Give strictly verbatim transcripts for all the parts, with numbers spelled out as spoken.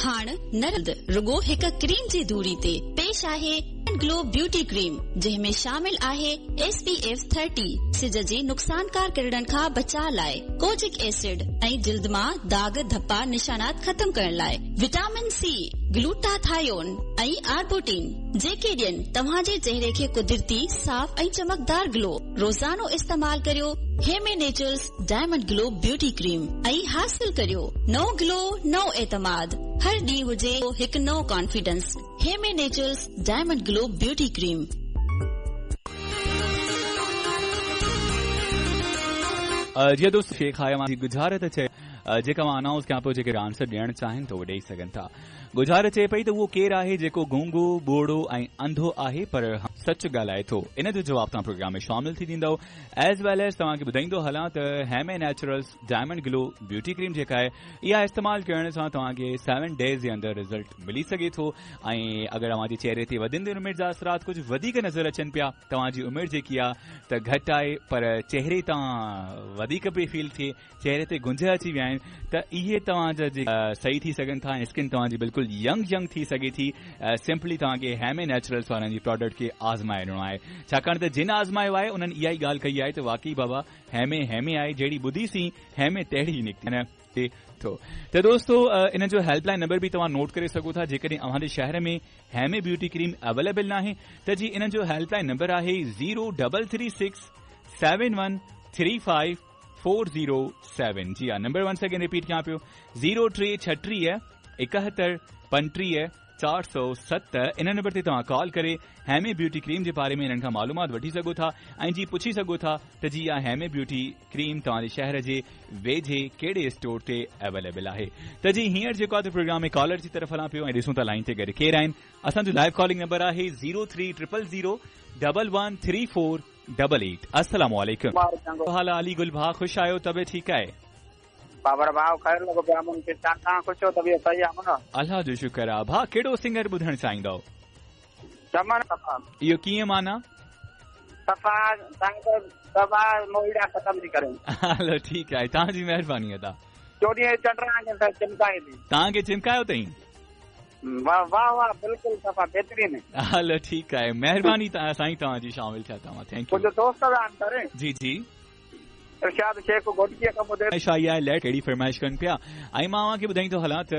हाण नरद रुगो हिक क्रीम जी दूरी ते पेश आहे ग्लो ब्यूटी क्रीम, जंहिं में शामिल आहे एस पी एफ थर्टी, सिज जे नुक़सानकार किरणनि खां बचाव लाइ, कोजिक एसिड ऐं जिल्द मां दाग धप्पा निशानात ख़त्म करण लाइ, विटामिन सी, ग्लूटाथायोन ऐं आर्बोटीन, जेके ॾियनि तव्हांजे चेहरे खे कुदरती साफ़ ऐं चमकदार ग्लो। रोज़ानो इस्तेमाल करियो Heme Naturals diamond glow beauty cream ऐं हासिल करियो नओं ग्लो, नओं एतमाद। हर ॾींहुं हुजे हिकु नओं confidence. Heme Naturals diamond glow beauty cream. जी दोस्त, शेख आया गुजारत चए, जेका मां अनाउंस कयां पियो, जेके आंसर ॾियणु चाहिनि त उहो ॾेई सघनि था। गुजारत चए पई त उहो केरु आहे जेको गूंगो, ॿोड़ो ऐं अंधो आहे पर सच ॻाल्हाए थो? इन जो जवाबु तव्हां प्रोग्राम में शामिल थी ॾींदव। एज वेल एज तव्हांखे ॿुधाईंदो हलां त Heme Naturals diamond glow beauty cream जेका आहे, इहा इस्तेमालु करण सां तव्हांखे सेवन डेज़ जे अंदरि रिज़ल्ट मिली सघे थो। ऐं अगरि तव्हांजे चेहरे ते वधंदड़ उमिरि जा असरात कुझु वधीक नज़र अचनि पिया, तव्हांजी उमिरि जेकी आहे त घटि आहे पर चेहरे तां वधीक पई फील थिए, चेहरे ते गुंज अची विया आहिनि, त इहे तव्हांजा सही थी सघनि था ऐं स्किन तव्हांजी बिल्कुलु यंग यंग थी सघे थी। सिंपली तव्हांखे हेमे नेचुरल्स वारनि जी प्रोडक्ट खे आज़माइणो आहे, छाकाणि त जिन आज़मायो आहे उन्हनि इहा ई ॻाल्हि कई आहे त वाकई बाबा हेमे हेमे आहे, जहिड़ी ॿुधीसीं हेमे तहिड़ी निकिती थो। त दोस्तो, इन जो हेल्पलाइन नंबर बि तव्हां नोट करे सघो था। जेकॾहिं अव्हांजे शहर में हेमे ब्यूटी क्रीम अवेलेबल न आहे त जी इन जो हेल्पलाइन नंबर आहे zero double three six seven one three five four zero seven. जी हा, नंबर वंस अगेन रिपीट कयां पियो, ज़ीरो टे छटीह एकहतरि पंटीह चार सौ सत। इन नंबर ते तव्हां कॉल करे हेमे ब्यूटी क्रीम जे बारे में इन्हनि खां मालूमात वठी सघो था ऐं जी पुछी सघो था त जी इहा हेमे ब्यूटी क्रीम तव्हांजे शहर जे वेझे कहिड़े स्टोर ते अवेलेबल आहे। त जी हींअर जेको आहे प्रोग्राम में कॉलर जी तरफ़ हलां पियो ऐं ॾिसूं था लाइन ते गॾु केरु आहिनि। असांजो लाइव कॉलिंग नंबर आहे zero three triple zero double one three four double eight. अस्सलाम वालेकुम। हाल अली गुल भाउ, ख़ुशि आहियो? तबियत ठीकु आहे? बाबर भाउ ख़ैर लॻो पियो आहे, मूंखे तव्हां ख़ुशि हो? तबियत सही आहे न? अल्लाह जो शुक्र आहे। भाउ कहिड़ो सिंगर ॿुधणु चाहींदव? चमन सफ़ा। इहो कीअं माना? सफ़ा सफ़ा मोइड़ा ख़त्म थी करे। हलो ठीकु आहे, तव्हांजी महिरबानी अदा। चोॾहिं चंड चिमकाए थी। तव्हांखे चिमकायो अथई? वाह वाह वाह, बिल्कुलु सफ़ा बहितरीन। हलो ठीकु आहे, महिरबानी साईं तव्हांजी, शामिल थिया तव्हां, thank you. मुंहिंजो दोस्त आहिनि सर। जी जी, इरशाद शेख घोटकीअ खां ॿुधे आई आहे, लेट कहिड़ी फरमाइश कनि पिया। ऐं मां तव्हांखे ॿुधाईंदो हलां त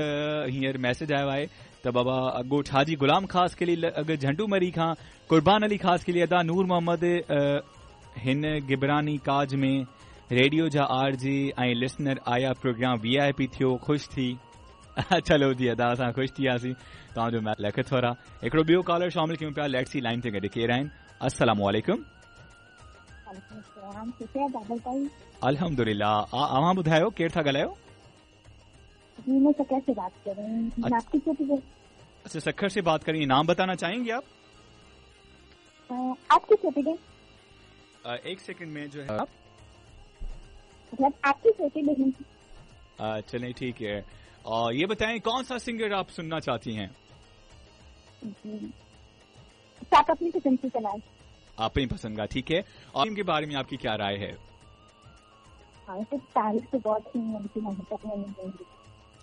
हींअर मैसेज आयो आहे त बाबा ॻोठ हाजी गुलाम ख़ास के लिए अॻु झंडू मरी खां कुर्बान अली ख़ास के लिए अदा नूर मोहम्मद हिन गिबरानी काज में रेडियो जा आर जे ऐं लिसनर आया, प्रोग्राम वी I P थियो, ख़ुशि थी। चलो जी अदा, असां ख़ुशि थी वियासीं तव्हांजो लख थोरा। हिकिड़ो ॿियो कॉलर शामिल कयूं पिया, let's see line ते गॾु केरु आहिनि। अस्सलाम वालेकुम। अल्हम्दुलिल्लाह। अव्हां ॿुधायो केरु था ॻाल्हायो? मैं सखर से बात कर रही हूँ। आपकी अच्छा, सखर से बात करिए, नाम बताना चाहेंगे आप? आपकी छोटी बहन। एक सेकंड में जो है आप मतलब आपकी छोटी बहन। चलें ठीक है। और ये बताएं कौन सा सिंगर आप सुनना चाहती हैं? आप अपनी पसंद से चलाएं। अपनी पसंद का, ठीक है। और इनके बारे में आपकी क्या राय है? हाँ, तो तारीफ तो बहुत सुनी है, लेकिन अभी तक नहीं।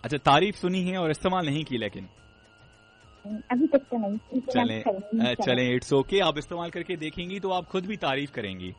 अच्छा, तारीफ सुनी है और इस्तेमाल नहीं की? लेकिन अभी तक तो नहीं। चलें चलें, it's okay, आप इस्तेमाल करके देखेंगी तो आप खुद भी तारीफ करेंगी।